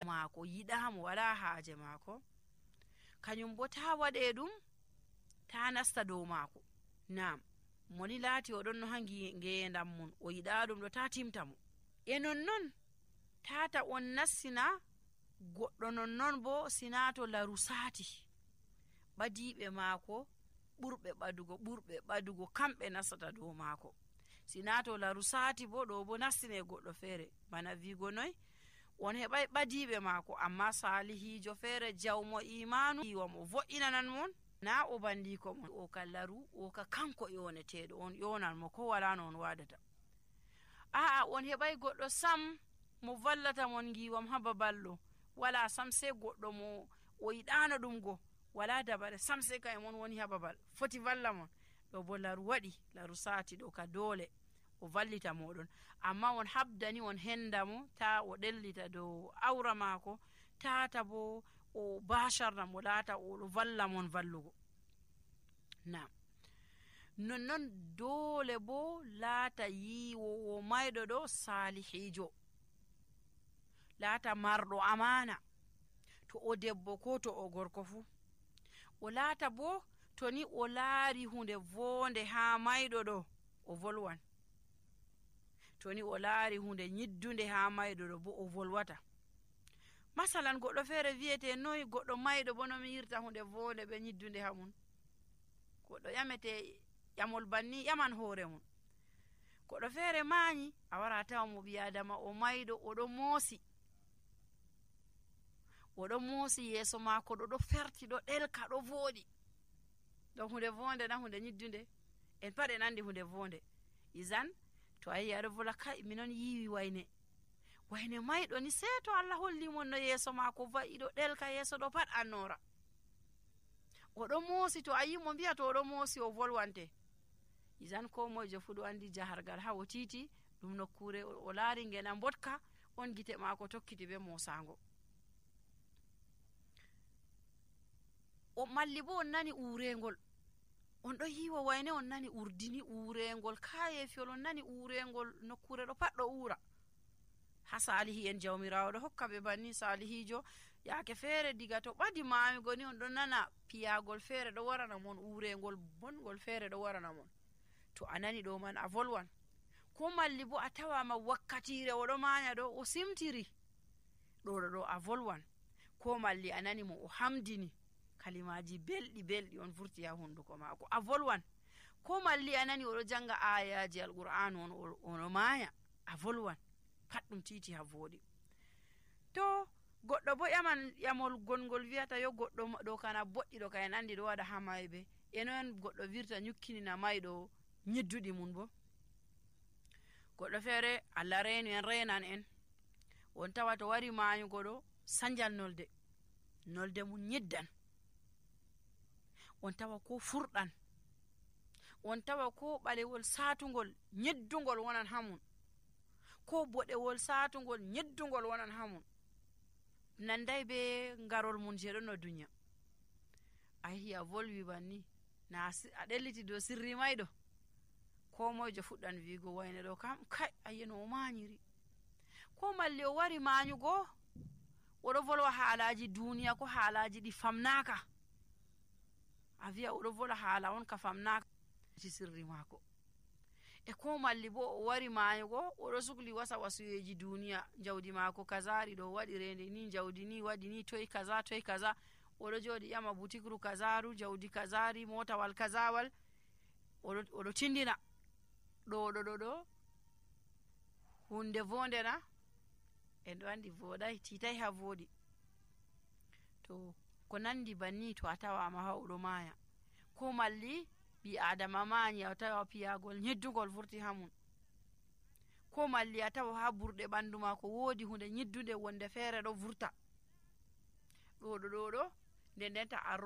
maako yiɗaamo wala haaje maako, kanyum bo taa waɗee ɗum, taa nasta dow maako. Naam, moni laati oɗon no ha ngeendam mum o yiɗaa ɗum ɗo, taa timta mo. E nonnon taata on nassina goɗɗo, nonnon bo sinaato laru saati ɓadiiɓe maako ɓurɓe ɓadugo kamɓe nastata dow maako. Sinaato laru saati bo ɗo bo nastine goɗɗo feere, bana wiigo noy, on heɓay ɓadiiɓe maako, amma saalihiijo feere jawmo imanu yiwamo vo'inanan mon, na o bandiko mon, o ka laru, o ka kanko yoneteeɗo, on yonan mo ko wala no on wadata. A'a, on heɓay goɗɗo sam mo vallata mon ngiwam ha babal ɗo, wala sam, sai goɗɗo mo o yiɗano ɗum go, wala dabare sam, sai ka e mon woni ha babal foti valla mon, ɗo bo laru waɗi, laru saati ɗo ka dole o vallita moɗon, amma on habdani on henda mo, ta o ɗellita dow awra maako, tata bo o basharna mo laata oɗo valla mon vallugo. Naam, nonnon dole bo laata yiwowo mayɗo ɗo salihijo, laata marɗo amana, to o debbo ko to o gorko fu. O laata bo to ni o laari hunde vonde ha mayɗo ɗo, o volwan. To ni o laari hunde nyiddunde ha mayɗo ɗo bo o volwata. Masalan, goɗɗo feere wiyete noy goɗɗo mayɗo bo no mi yirta hunde vonde be nyiddunde ha mun. Goɗɗo ƴamete ƴamol banni ƴaman hoore mun. Goɗɗo feere maanyi, a wara tawa mo ɓi adama o mayɗo, oɗo moosi yeeso maako ɗo ferti, ɗo ɗelka, ɗo vooɗi. Ɗo hunde vonde na hunde nyiddunde? En pat en andi hunde vonde. Izan to ayi aɗo vola, kai minon yiwi wayne mayɗo ni, sei to Allah holli mon no yeeso maako va'i ɗo ɗelka, yeeso ɗo pat annora. Oɗo moosi, to ayi mo mbiya to oɗo moosi o volwante. Izan ko moyjo fu ɗo andi jahargal ha o titi ɗum nokkure o laari ngena mbotka, on gite maako tokkiti be moosango. O malli bo on nani urengol, on ɗo yiwa wayne on nani urdini urengol, kayefiol on nani urengol, nokkure ɗo pat ɗo ura. Ha salihi en jawmirawo ɗo hokka ɓe banni, salihijo yaake feere diga to ɓadi mayugo ni on ɗo nana piyagol feere ɗo warana mon, urengol bongol feere ɗo warana mon. To a nani ɗo man a volwan. Ko malli bo a tawama wakkatire oɗo manya ɗo o simtiri, ɗo a volwan. Ko malli a nani mo o hamdini, kalimaji belɗi on vurti ha hunduko maako, a volwan. Ko malli a nani oɗo janga ayaji alqur'anu on ono maya, a volwan. Pat ɗum titi ha voɗi. To goɗɗo bo ƴaman ƴamol gongol wiyata yo goɗɗo ɗo kana boɗɗi ɗo ka en andi ɗo waɗa ha mayɓe, enon goɗɗo virta nyukkinina mayɗo nyidduɗi mun bo. Goɗɗo feere Allah reenu en, renan en, on tawa to wari mayugo ɗo sanjal nolde mum nyiddan, on tawa ko furɗan, on tawa ko ɓalewol satugol nyeddugol wonan hamun, ko boɗewol satugol nyeddugol wonan hamun, nanday be ngarol mun je ɗon no duniya. A yehi a volwi banni, na a ɗelliti dow sirri mayɗo, ko moyjo fuɗɗan wiigo wayne ɗo kam kai ayeno o manyiri. Ko malli o wari manyugo, oɗo volwa haalaji duniya ko haalaji ɗi famnaka, a wiya oɗo vola haala on ka famnaka ci sirri maako. E ko malli bo o wari mayugo, oɗo sukli wasa wasuyeji duniya, jawdi maako kazari ɗo waɗi rende ni, jawdi ni waɗi ni, toy kaza, oɗo joɗi ƴama butikru kazaru, jawdi kazari, motawal kazawal, oɗo tindina ɗo hunde vonde na, en ɗo andi voɗai, titai ha voɗi. To ko nandi banni to a tawama ha oɗo maya, ko malli ɓi adama mayi, a tawa piyagol nyeddugol vurti ha mun, ko malli a tawa ha burɗe ɓandu mako woodi hunde nyiddude wonde feere ɗo vurta, ɗo nden denta a